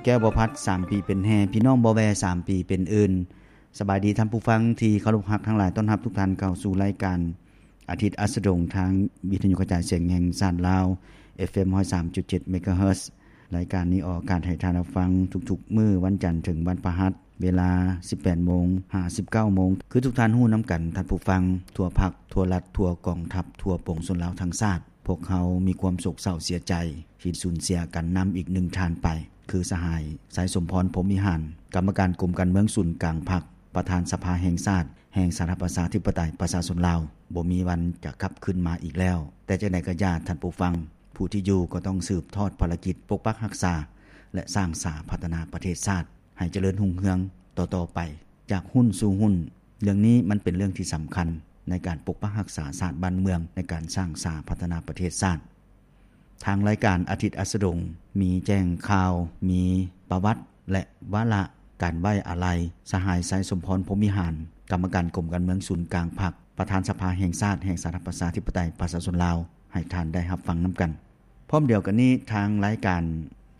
ແກ້ວບໍ່ພັດ ສາມປີເປັນແຮ່ ພີ່ນ້ອງບໍ່ແວ່ ສາມປີເປັນອື່ນ. ສະບາຍດີທ່ານຜູ້ຟັງທີ່ເຄົາລົບຮັກທັງຫຼາຍ, ຕ້ອນຮັບທຸກທ່ານເຂົ້າສູ່ລາຍການອາທິດອັສດະດົງ ທາງວິທະຍຸກະຈາຍສຽງແຫ່ງຊາດລາວ ເອັຟເອັມ ຮ້ອຍສາມຈຸດເຈັດ ເມກາເຮີດ. ລາຍການນີ້ອອກອາກາດໃຫ້ທ່ານຮັບຟັງທຸກໆມື້ ວັນຈັນເຖິງວັນພະຫັດ ເວລາ ສິບແປດໂມງ ຫາ ສິບເກົ້າໂມງ. ຄືທຸກທ່ານຮູ້ນຳກັນ ທ່ານຜູ້ຟັງ, ທົ່ວພັກ, ທົ່ວລັດ, ທົ່ວກອງທັບ, ທົ່ວປວງຊົນລາວທັງຊາດ, ພວກເຮົາມີຄວາມໂສກເສົ້າເສຍໃຈທີ່ສູນເສຍກັນນຳອີກໜຶ່ງທ່ານໄປ, ຄືສະຫາຍ ໄຊສົມພອນ ພົມວິຫານ, ກຳມະການກົມການເມືອງສູນກາງພັກ, ປະທານສະພາແຫ່ງຊາດ ແຫ່ງສາທາລະນະລັດ ປະຊາຊົນລາວ, ບໍ່ມີວັນຈະກັບຄືນມາອີກແລ້ວ. ແຕ່ຈັ່ງໃດກໍຢ່າ, ທ່ານຜູ້ຟັງ, ຜູ້ທີ່ຢູ່ກໍຕ້ອງສືບທອດພາລະກິດປົກປັກຮັກສາ ແລະ ສ້າງສາພັດທະນາປະເທດຊາດ ໃຫ້ຈະເລີນຮຸ່ງເຮືອງຕໍ່ໆໄປ ຈາກຮຸ່ນສູ່ຮຸ່ນ. ເລື່ອງນີ້ມັນເປັນເລື່ອງທີ່ສຳຄັນໃນການປົກປັກຮັກສາຊາດບ້ານເມືອງ, ໃນການສ້າງສາພັດທະນາປະເທດຊາດ. ທາງລາຍການອາທິດອັສດະດົງ ມີແຈ້ງຂ່າວ, ມີປະຫວັດ ແລະ ວາລະການໄວ້ອາໄລ ສະຫາຍ ໄຊສົມພອນ ພົມວິຫານ, ກຳມະການກົມການເມືອງສູນກາງພັກ, ປະທານສະພາແຫ່ງຊາດ ແຫ່ງສາທາລະນະລັດ ປະຊາທິປະໄຕ ປະຊາຊົນລາວ ໃຫ້ທ່ານໄດ້ຮັບຟັງນຳກັນ. ພ້ອມດຽວກັນນີ້, ທາງລາຍການ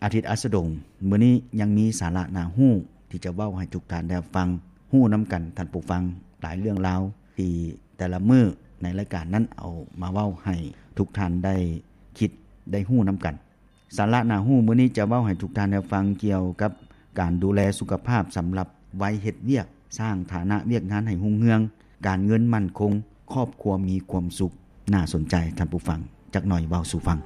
ອາທິດອັສດະດົງ ມື້ນີ້ຍັງມີສາລະໜ້າຮູ້ທີ່ຈະເວົ້າໃຫ້ທຸກທ່ານໄດ້ຮັບຟັງ, ຮູ້ນຳກັນ, ທ່ານຜູ້ຟັງ, ຫຼາຍເລື່ອງລາວທີ່ແຕ່ລະມື້ໃນລາຍການນັ້ນເອົາມາເວົ້າໃຫ້ທຸກທ່ານໄດ້ຄິດ, ໄດ້ຮູ້ນຳກັນ. ສາລະໜ້າຮູ້ມື້ນີ້ຈະເວົ້າໃຫ້ທຸກທ່ານໄດ້ຟັງກ່ຽວກັບການດູແລສຸຂະພາບສຳລັບໄວເຮັດວຽກ, ສ້າງຖານະວຽກງານໃຫ້ຮຸ່ງເຮືອງ, ການເງິນໝັ້ນຄົງ, ຄອບຄົວມີຄວາມສຸກ. ໜ້າສົນໃຈ, ທ່ານຜູ້ຟັງ, ຈັກໜ່ອຍເວົ້າສູ່ຟັງ.